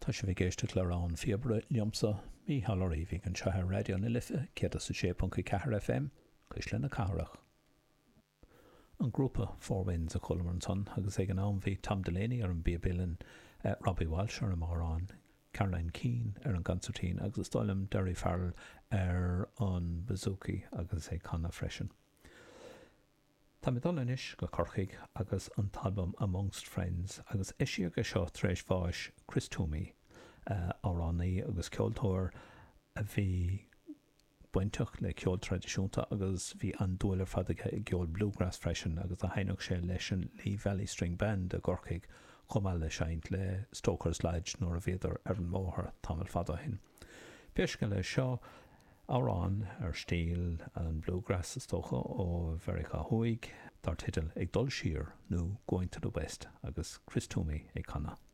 Tá sibh ag éisteacht le Rogha an Phíobaire liomsa, Mícheál Ó Riabhaigh, anseo ar Raidió na Life 106.4 FM, Cuisle na Cathrach. An grúpa Four Winds a chualamar ansan agus ag an am bhí Tom Delaney ar an bpíob uilleann, Robbie Walsh ar an mbodhrán, Caroline Keane ar an gconsairtín agus is dóigh liom Derry Farrell ar an bouzouki agus ag canadh freisin. Tá mé ag dul anois go Corcaigh agus an t-albam Amongst Friends agus eisíodh é seo tar éis bháis Chris Twomey, amhránaí agus ceoltóir a bhí bainteach le ceol traidisiúnta agus bhí an-dúil ar fad aige i gceol bluegrass freisin agus do sheinneadh sé leis an Lee Valley String Band i gCorcaigh chomh maith le seinnt le Stoker's Lodge nuair a bhíodar ar an mbóthar tamall fada ó shin. Pé scéal é seo, amhrán ar stíl an bluegrass is dócha, ó Mheiriceá Thuaidh, dar teideal Ag Dul Siar nó Going to the West agus Chris Twomey ag canadh.